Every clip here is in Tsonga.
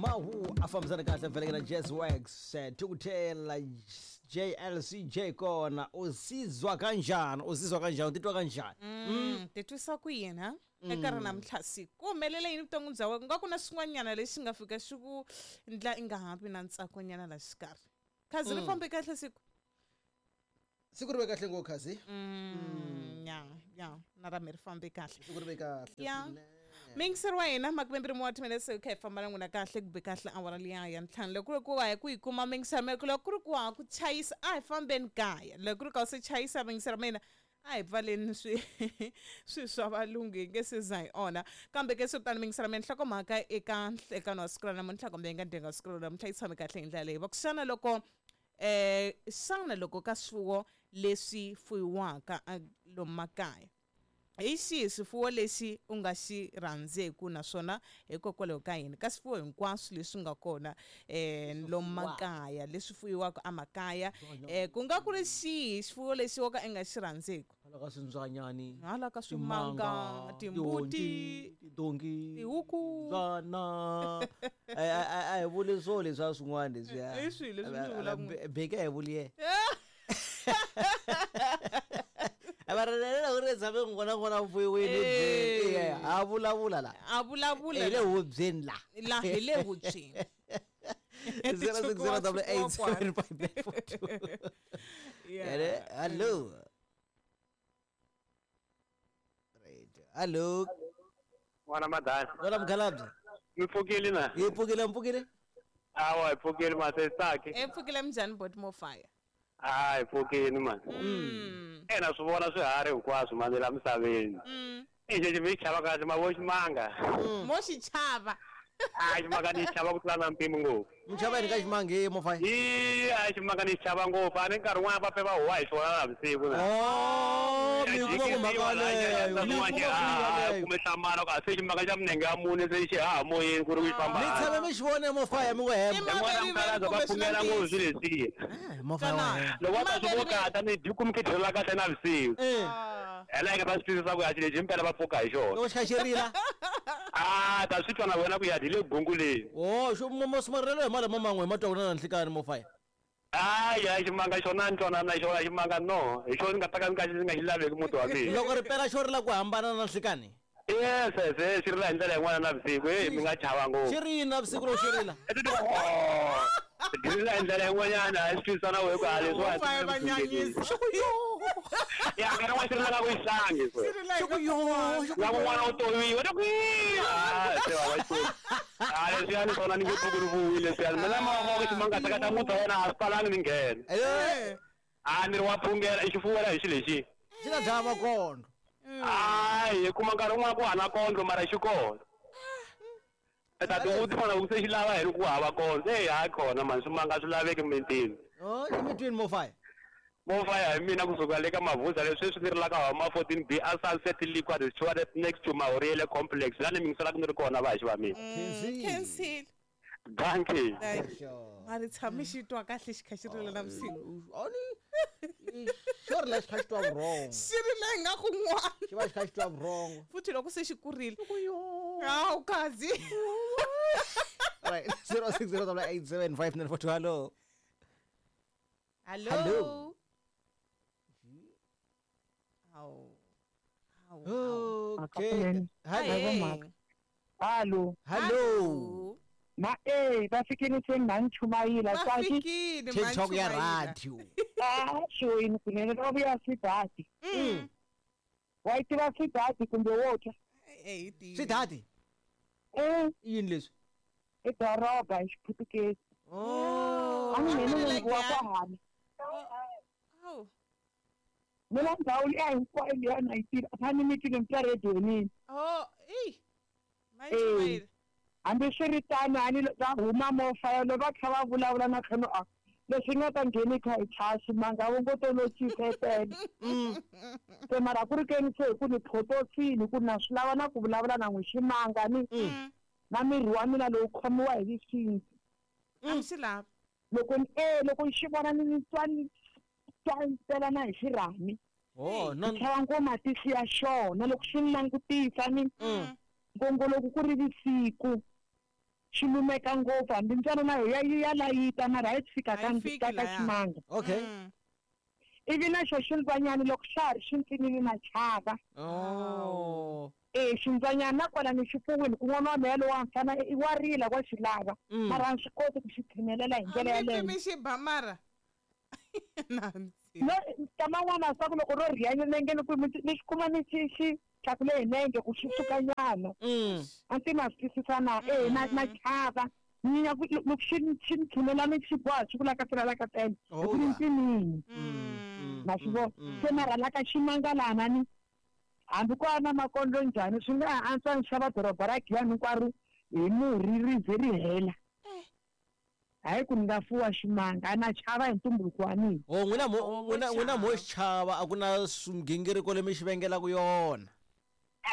Mahu a fambisana kahle mfeleke na Jazz Wax, Thukuthela JLCJ kona usizwa kanjani, usizwa kanjani, u titwa kanjani? Titwisa ku yini ha eka ri namuntlha siku ku humelele yini vuton'wini bya wena? Ku nga ku na swin'wanyana lexi nga fika xi ku ndla i nga ha vi na ntsakonyana la xikarhi. Khazi ri fambe kahle siku? Siku ri ve kahle ngopfu, Khazi. Ya ya, na ra mi ri fambe kahle. Siku ri ve kahle Ya. swinene. Miyingiseri wa hina, makumembirhi wa timinetse hi kha hi famba na n'wina kahle ku be kahle awara liya ya ntlhanu. Loko ku ri ku wa hi ku yi kuma miyingiseri mina, loko ku ri ku wa ku chayisa, a hi fambeni kaya. Loko ku ri ka u se chayisa miyingiseri mina, a hi pfaleni swi swa valungu, hi nge se za hi onha. Kambe ke swi tani miyingiseri mina, nhlokomhaka eka nhlekano wa siku ra namuntlha kumbe eka ndyangu wa siku ra namuntlha yi tshame kahle hi ndlela leyi. Va ku xana loko xana loko ka swifuwo leswi fuyiwaka lomu makaya, hi xihi swifuwo lexi u nga xi rhandzeku naswona hikokwalaho ka yini? Ka swifuwo hinkwaswo leswi nga kona lomu makaya, leswi fuyiwaka emakaya, ku nga ku ri xihi xifuwo lexi wo ka i nga xi rhandzeku? Hala ka swimbyanyani, hala ka swimanga, timbuti, tidonki, tihuku, timbyana. A hi vuli swo leswiya swin'wana leswiya. I swihi leswi mi swi vulaka? Beke a hi vuli yena. A va ri loko ri tshame n'wana n'wana fuyiwini, Eh. a vulavula la. A vulavula hi le la. hubyeni la. La hi le hubyeni. Zero six zero double eight seven five nine four two. Yeah. Hello. Right. Hello. N'wana madala. N'wana mukhalabye. Mi pfukile na? Hi pfukile, mi pfukile? Awa, hi pfukile ma se tsaki. E pfukile minjhani bot mo fire? Ah, hi pfukile man. Ena swi vona swiharhi hinkwaswo mani la misaveni. I xexi mi xi chava kahle ma vo ximanga. Mo xi chava. Ah, ximanga ni xi chava ku tlula na mpimo ngopfu. Mi chava yini ka ximanga he mo fire? Yi, a ximanga ni xi chava ngopfu. A ni nkarhi wun'wana va pfe va huwa hi xona na vusiku na. Oh, mi kuma ku mhaka yaleyo. Mi kuma ku yaleyo. Kumbe hlamala ku a se ximanga xa minenge ya mune se xi haha moyeni ku ri ku xi famba. Mi tshame mi xi vone mo fire mi ngo hemba. I N'wana mukhalabye va pfumela ngopfu swilo leswiya. Mo fire wa hemba. Loko va ta swi vokata ni dyi kumi khidirela kahle na vusiku. Eh. Hela nga ta swi twisisa ku ya xilo lexi himpela va pfuka hi xona. Loko xi kha xi rila. Ah, ta swi twa na wena ku ya dyi le gunguleni. Oh, xo mo mo swimarilelo hi mali mo man'we hi ma twa ku na nhlikani mo fire. Hayi, hayi, ximanga xona ni twanana na xona ximanga no. Hi xona ni nga ta ka ni nga xi nga xi laveki muti wa mina. Loko ri pela xo rila ku hambana na nhlikani. Yes, yes, yes, xi rila hi ndlela yin'wana na vusiku. Hey, mi nga chava ngopfu. Xi ri yini na vusiku loko xi rila? Oh, xi rila hi ndlela yin'wanyana, a xi twisisa na wehe ku a leswiwa Mo fire va nyanyisa. Xi ku yo. Ya, nkarhi wun'wana xi rilaka ku xihlangi, Xi rila hi Xi ku yo, xi ku Na kun'wana u toviwa, ta ku yi. Ah, se va va Xikwembu. Ah, leswiya ni swona ni nge pfuki ni vuwile leswiya. Mina ma va ku ximanga ta ka muti wa wena a swi talangi ni nghena. Eh. Ah, ni ri wa phungela, i xifuwo la hi xilo lexi. Xi ta dlaya makondlo. Hayi, hi kuma nkarhi wun'wana ku hana kondlo mara xi kona. I ta tivutisa na ku se xi lava hi ri ku hava kondlo. Eyi, hayi kona mani, swimanga swi laveki emitini. Oh, emitini mo fire. Mo fire hi mina kusuka le ka Mavuza leswi sweswi ni rilaka homa 14B a Sunset Liquor Restaurant next to Mahoriele Complex. La ni mingiselaka ni ri kona va hi va mina. Khensile. Dankie. Mari tshame xi twa kahle xi kha xi rila na vusiku. Oni xo rila xi kha xi twa vurhongo. Xi rila ingaku n'wana. Xi va xi kha xi twa vurhongo. Futhi loko se xi kurile. Hawu kazi. Right, zero six zero double eight seven five nine four two. Hello. Hello. Hello. Hawu. Hawu. Okay. Hello. Hello. Hello. Ma eh va fikile se na nchumayila Va tsaki. fikile, ma TikTok ya nchumayila. radio. Ah, xoyini kunene va vuya swidati. Wa yi tiva swidati kumbe wo twa? Eh, hi tivi. Swidati? Eh. I yini leswi? I doroba hi xiputukezi. Oh. A ni ngheni munhu wa kwahani. Hawu. Mina ndhawu liya hinkwayo liya na yi tiva. A ni mi twile mi twa redionini. Oh, ey. Ma Eh. nchumayila. Hambi swi ri tano a ni va huma mofa yalo va kha va vulavula na khano a leswi nga ta ngheni kha hi chaya ximanga vo ngo to no chifetela. Se mara ku ri keni se hi ku ni photosini ku na swi lava na ku vulavula na n'wi ximanga ni na miri wa mina lowu khomiwa hi xintu. A mi xi lavi. Loko ni loko ni xi vona ni twa ni twa ni tela na hi xirhami. Oh, no. Ni chava ngo matihlo ya xona loko xi ni langutisa ni ngongo loko ku ri vusiku. Xi lumeka ngopfu hambi ntswalo na yo ya layita mara a yi fika A yi fiki ka laya. ximanga. Okay. Ivi na xo xintswanyana loko xa ha ri xintsinini na chava. Oh. E xintswanyana na kwala ni xi fuwini ku n'wana wa mehe lowa mfana i wa rila wa xi lava. Mara a ni swi koti ku xi tshinelela hi ndlela A mi yaleyo. pfi mi xi ba mara. Nansi. No nkama n'wana swa ku loko ro rhiya nenge ku ni xi kuma ni xi xi tlakule hi nenge ku xi sukanyana. A ndzi ma swi twisisa na e na chava. Ni ya ku loko xi xi ni tshinela ni xi boha xi ku lakatela lakatela. Oh, Hi ku ni yeah. ntsinini. Ma swi vona. Se mara la ka ximangalana ni hambi ku va na makondlo njhani swi nga ha antswa ni xava doroba ra Giyani hinkwaro hi murhi ri ze ri hela. Hayi ku ni nga fuwa ximanga a na chava hi ntumbuluko wa mina. Oh, n'wina mo Oh, n'wina mo xi chava a ku na migingiriko leyi mi xi vengelaka yona.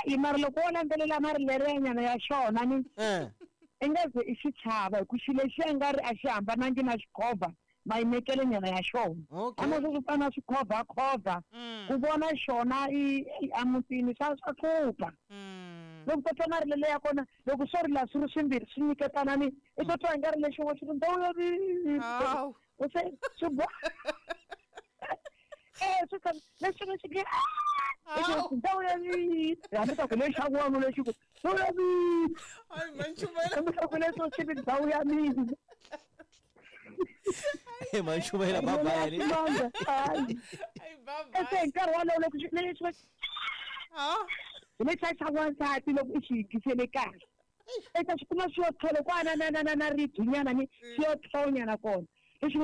I mara loko wo landzelela marilerenyana ya xona ni Eh. i nga ze i xi chava hi ku xilo lexiya nga ri a xi hambanangi na xikhovha mayimekelenyana ya xona. Okay. A swi fana na swikhovhakhovha ku vona xona i emutini swa hlupha. Loko to twa marilelo ya kona loko swo rila swi ri swimbirhi swi nyiketana ni i to twa i nga ri lexin'we xi ri ndhawu ya Hawu. u se swi boha swi tshama lexin'we xi nge Hawu. ndhawu ya hambi ta ku lexa n'wana lexi ku ndhawu ya mina Hayi manchumela. hambi ta ku lexo xi ri ndhawu ya mina. Hey, manchumela bye bye. ni. Ximanga, hayi. Hayi bye Ese hi bye. nkarhi wolowo loko xi lexi Ha. hi lexiya xa n'wansati loko i xi yingisele kahle i ta xi kuma xi yo tlhelo kwana na ribyinyana ni xi yo tlhonyana kona lexi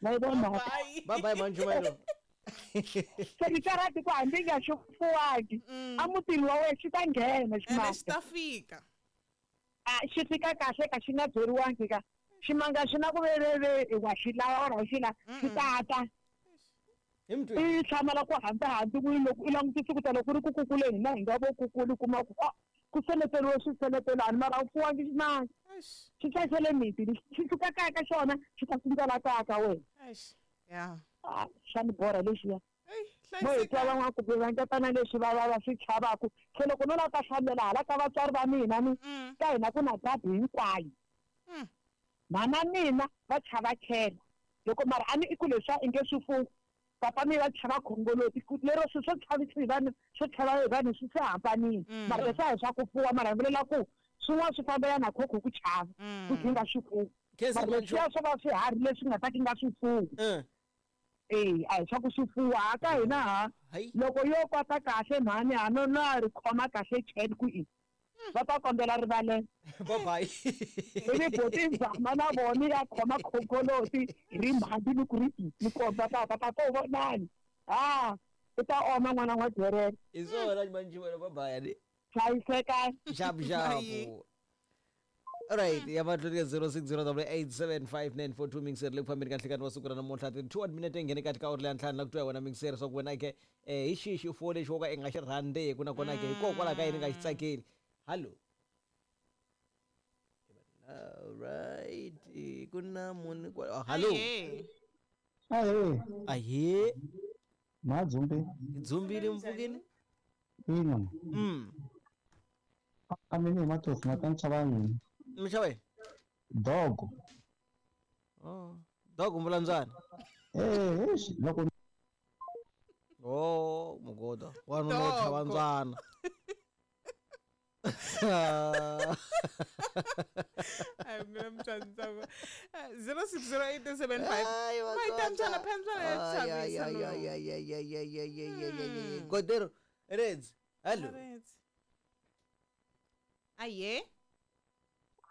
ma yi vona mhaka Bye. Bye bye manchumelo. Se ni karhati ku hambi nga xi fuwangi emutini wa wena xi ta nghena Ene xi ximanga ta fika. A xi fika kahle ka xi nga byeriwangi ka ximanga xi na ku veveve wa xi lava or a wu xi lava xi tata. Hi mutweni. I hlamala ku hambi hambi ku loko i langutisi ku ta loko ku ri ku kukuleni hina hi nga vo kukuli u kuma ku ku seleteriwe swiseletelani mara a wu fuwangi ximanga. Eish. Xi hlayisele miti xi suka kaya ka xona xi ta sungula kaya ka wena. Eish. Ya. Ah, xa ni borha lexiya. Ey, Mo hi twa hlayiseka. van'wana ku vangetana leswi va swi chavaku se loko no lava ta hlamela hala ka vatswari va mina ni ka hina ku na dabi hinkwayo. Mhana mina va chava khela loko mara a ni i ku leswiya i nge swi fuwi papa mi va chava khongoloti lero swilo swo chavisa hi vanhu swo chava hi vanhu swi se hambanile. Mara leswi a hi swa ku fuwa mara hi vulela ku swin'wana swi fambelana na khokho ku chava ku swi nga swi fuwi. Khensa Mara leswiya swo va swiharhi leswi nga ta ki nga swi fuwi. Eh. E a hi swa ku swi fuwa ha ka hina ha Hayi. loko yo kota kahle mhani ha no na ri khoma kahle cheni ku i va ta kombela rivalelo. Bye bye. Ivi boti zama na vona ya khoma khongoloti hi ri mhandi ni ku ri i ni komba papa papa u vonani ha u ta oma n'wana n'wa dyerela. Hi swona manchumelo bye bye ni. Hlayiseka. Xapu xapu. Alright, ya mahlweni ka 0608875942 mixer le ku fambeni ka nhlekani wa siku ra namuntlha 32 minete nghene kati ka awuri ya ntlhanu la ku twa wena mixer swa ku wena ke hi xihi xifuwo lexi wo ka i nga xi rhandzeki nakona ke hikokwalaho ka yini i nga xi tsakeli. Hallo. Alright, ku na munhu kwala. Hallo. Aye. Ahee, Ahee, madzumbi hi dzumbile mpfukeni. ina a mina hi matosi ma ta ni chava yini Mi xava yini? dogo Oh, dog mvulandzwana. eh eish loko Oh, mugoda. Wanuna wo chava Dogo. ndzwana. Hayi mina mtsandzako. 060875. Ai, Mayitantswana phentswana ya chavisa no. Godero, Reds. Hello. Aye.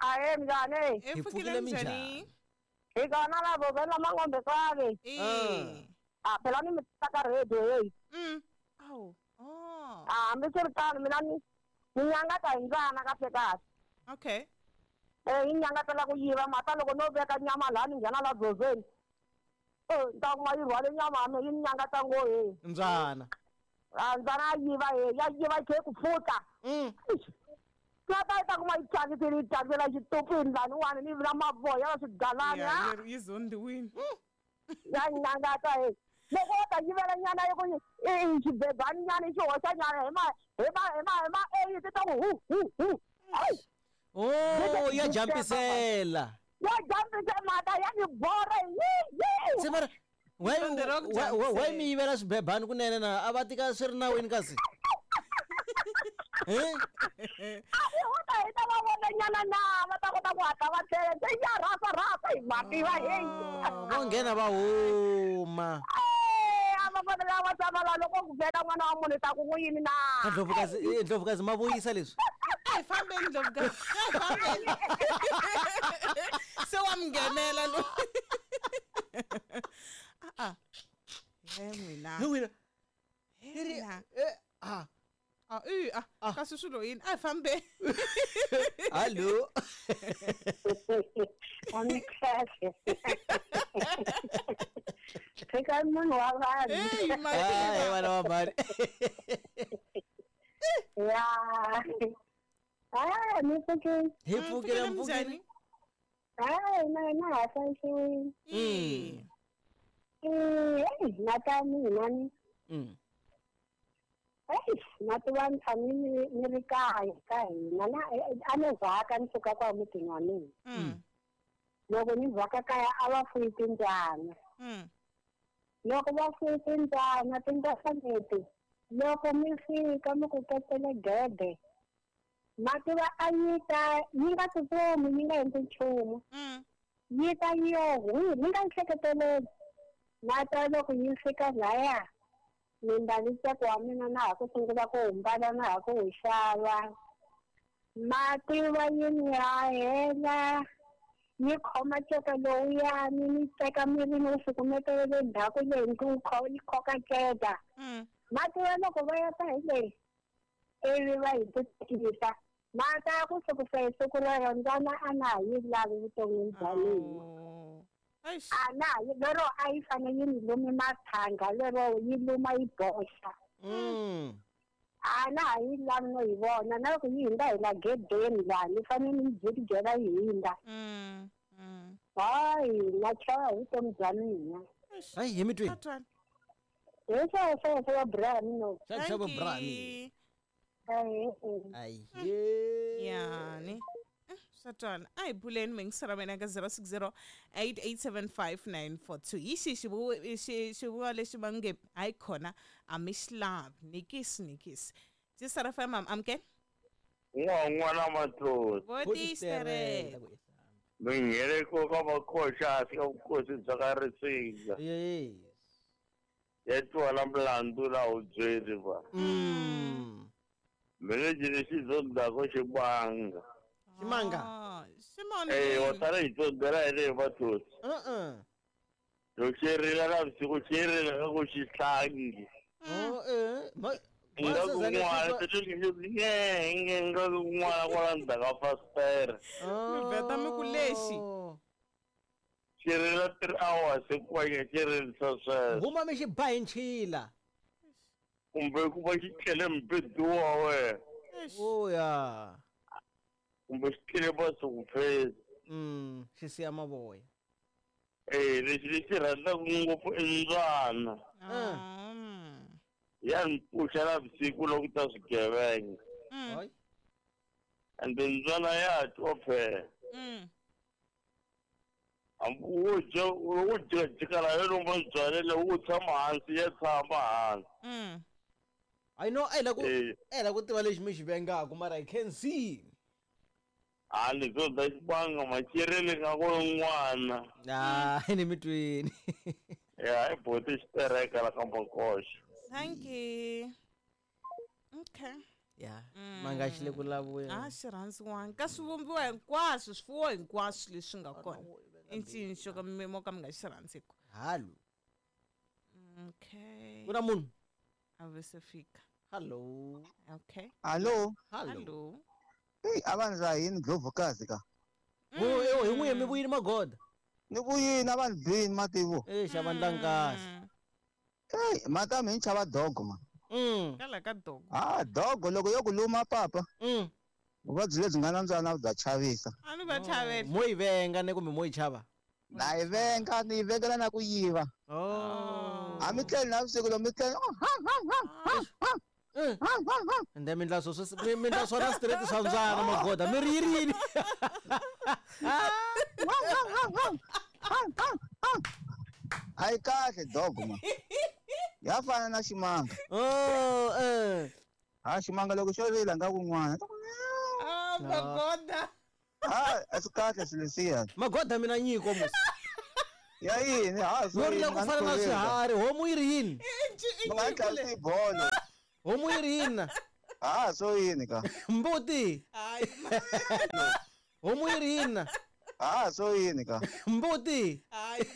Ahe njhani? E Hi pfukile pfukile minjhani? minjhani? Hi kona lavo vela mangombe swavi. Eh. A phela ni mi tisa ka radio heyi. Awu. Oh. A hambiswiritano mina ni ni nyangata hi mbyana kahle kahle. Okay. Eh yi nyangatela ku yiva mhaka loko no veka nyama laha ni nghena la dzozeni. Eh ni ta kuma yi rhwale nyama ya mina yi ni nyangata ngo heyi. Mbyana. A mbyana ya yiva heyi ya yiva yi khe yi ku pfuta. Ya ta yi ta kuma yi thyakisile yi thyakisela xitupini laniwani ni na mavoya na swigalani Yeah, yi zondiwini. Ya nyangata heyi. Loko wo ta yivela nyana yi ku i xibebani nyana i xi hoxa nyana hi ma Hi ma hi ma hi ma 8 ta ku hu hu hu. Ai, Oh, ya jampisela. ya jambise mhaka ya ni borha yi yi. Se mara why Tonde ra ku why jambisela. mi yivela swibebani kunene na a va tika swi ri nawini kasi? Eh? A hi huta hi ta va vona nyana na va ta kota ku hatla va tlhela se ya rhasa rhasa hi mativa heyi. Vo nghena va huma. Eh, a va fanele va tshama laha loko ku vhela n'wana wa munhu ta ku n'wi yini na. Ndlovukazi Ndlovukazi ma vuyisa leswi. A hi fambeni Ndlovukazi. A hi fambeni. Se wa mi nghenela lo. A a. He n'wina. Hi wina. He n'wina. Eh, ah. A i a kasi swilo yini? A hi fambeni. Hallo. A ni kahle. Pheka munhu wa vanhu. Hey, Hayi mativa. vana va mhani. Ya. Ah, ni pfukile. Hi pfukile Njhani? mpfukile. Hayi, na hina ha hlayisiwile. Mm. Eh, na ta mina ni. Eyi, na tiva ni tshame ni ri kaya ka hina na a ni vhaka ni suka kwa mutini wa mina. Loko ni vhaka kaya a va fuyi timbyana. Loko va fuyi timbyana, timbyana leti loko mi fika mi ku petele gede ma tiva a yi ta yi nga tsutsumi yi nga endli nchumu yi ta yi yo hwi mi nga yi hleketeleli na ta loko yi fika laya ni mbali ntsako wa mina na ha ku sungula ku humbala na ha ku wu xava ma tiva yi ni hahela yi khoma nceka lowuyani ni teka miri ni wu sukumetela le ndzhaku leyi ni wu yi khoka nceka ma tiva loko va ya ta hi leyi ivi va hi tikisa ma ta ku sukusa hi siku rero ndzana a na ha yi lavi vuton'wini bya mina. Oh. Eish. A na ha yi lero a yi fane yi ni lumi mathanga lero yi luma yi boxa. A na ha yi lavi no yi vona na loko yi hundza hi la gedeni laha ni fane ni yi jikijela yi hundza. Hayi na chava hi vutomi bya mina. Hayi hi mi twini. Tatwana. Hi sweswo wa Brian no. Xa xa Thank Brani. you. Ayi. Yani. Swa twala. A hi buleni mingisera mina ka 060 8875942. Hi xihi xivuriwa lexi va nge hayi khona a mi xi lavi nikisi nikisi. Tisara FM am amukela. N'wana matloti Votistereka. minghereko ka makhoxa ka vukosi bya ka Risinga Yes. ya twala mlandu la wu byeli va mina lexi zondzako ximanga Ximanga. Ximanga. Eh, wa tala hi tsondzela hi leyi matloti loko xi rila navusiku xi rila ka ku xi hlangi Oh eh. Ma nga ku n'wana nga ku n'wana kwala ndzhaku ka fasitere Mi vheta mi ku lexi. xi rila 3 hours hinkwayo xi rilisa sweswo Huma mi xi ba hi nchila. kumbe ku va xi tlele mbidu wa wena Oh ya. kumbe xi tlele masuku-phesi Xi siya mavoya. Eh, lexi lexi rhandzaka ngopfu i mbyana ya ni pfuxa navusiku loko ta swigevenga ende mbyana ya twa phela hambi wo dya wo jikajika la yo lomba mbyana leyi wo tshama hansi ya tshama hansi I know a hi la ku a hi la ku tiva lexi mi xi vengaku mara I can see. A ni zo da xibanga macherele nga ku n'wana Ah, ni mi twini. ya i boti xitereka la ka makoxa Thank you. Okay. Ya, manga xi le ku lavuya. A xi rhandziwanga ka swivumbiwa hinkwaswo swifuwo hinkwaswo leswi nga kona i ncini xo ka mi mo ka mi nga xi rhandziku. Hallo. Okay. Ku na munhu. A ve se fika. Hello. Okay. Hallo. Hallo. Eyi a va ni rahini Ndlovukazi ka. Ho hi n'wi mi vuyini magoda. Ni vuyini a va ni bini mativo. Eh xa vandla nkasi. Eyi mata mi ni chava dogo ma. Kala ka dogo. Ah dogo loko yo ku luma papa. Vuvabyi lebyi nga na mbyana bya chavisa. A ni va chavela. Mo yi venga ne kumbe mo yi chava. Na yi venga ni yi vengela na ku yiva. Oh. A mi tleli navusiku loko mi tleli. Oh, ha, ha, ha, ha, ha. Ende mi ndla swo mi ndla swona straight swa mbyana magoda mi ri yiri yini? A yi kahle dog ma. Ya fana na ximanga. Oh eh. Ha ximanga loko xo rila nga kun'wana. Ah, magoda. Ha a swi kahle swilo leswiya. Magoda mina nyiko musi. Ya yini ha Yo rila ku fana na swiharhi homu yi ri yini? Mi nga tlangisi bolo. Homu yi ri yini na? Ha swo yini ka? Mbuti. Hayi. Homu yi ri yini na? Ha swo yini ka? Mbuti. Hayi.